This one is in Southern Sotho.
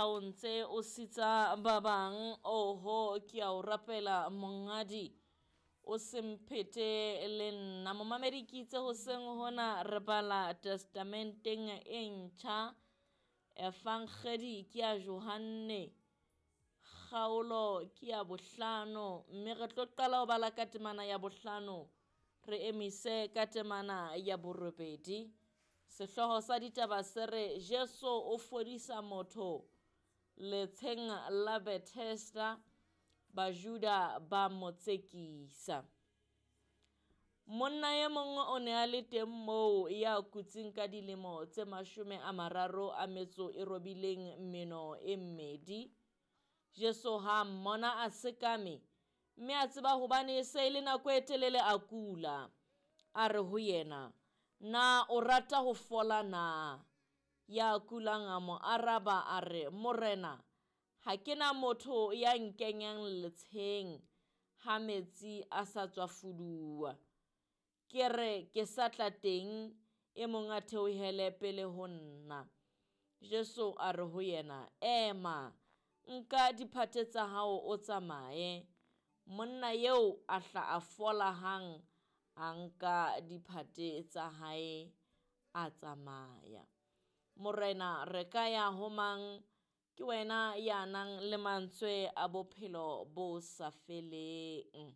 ha o ntse o sitsa ba bang, oho ke a o rapela monghadi, o se mphete le nna. Momamedi ke itse hoseng hona re bala testamenteng e ntjha, Evangedi ke ya Johanne, kgaolo ke ya bohlano, mme re tlo qala ho bala ka temana ya bohlano, re emise ka temana ya borobedi. Sehlooho sa ditaba se re Jesu o fodisa motho letsheng la Bethesda, Bajuda ba mo tsekisa. Monna e mong o ne a le teng moo ya kutseng ka dilemo tse 38 meno e mmedi. Jesu ha mmona a sekame, mme a tseba hobane e se e le nako e telele a kula. A re ho yena, na o rata ho fola na? Ya kulang a mo araba a re, Morena, ha ke na motho ya nkenyang letsheng ha metsi a sa tswa fuduwa. Ke re ke sa tla teng, e mong a theohele pele ho nna. Jesu a re ho yena, ema, nka diphate tsa hao o tsamaye. Monna eo a hla a fola hang, a nka diphate tsa hae a tsamaya. Morena, re ka ya ho mang? Ke wena ya nang le mantswe a bophelo bo sa feleng.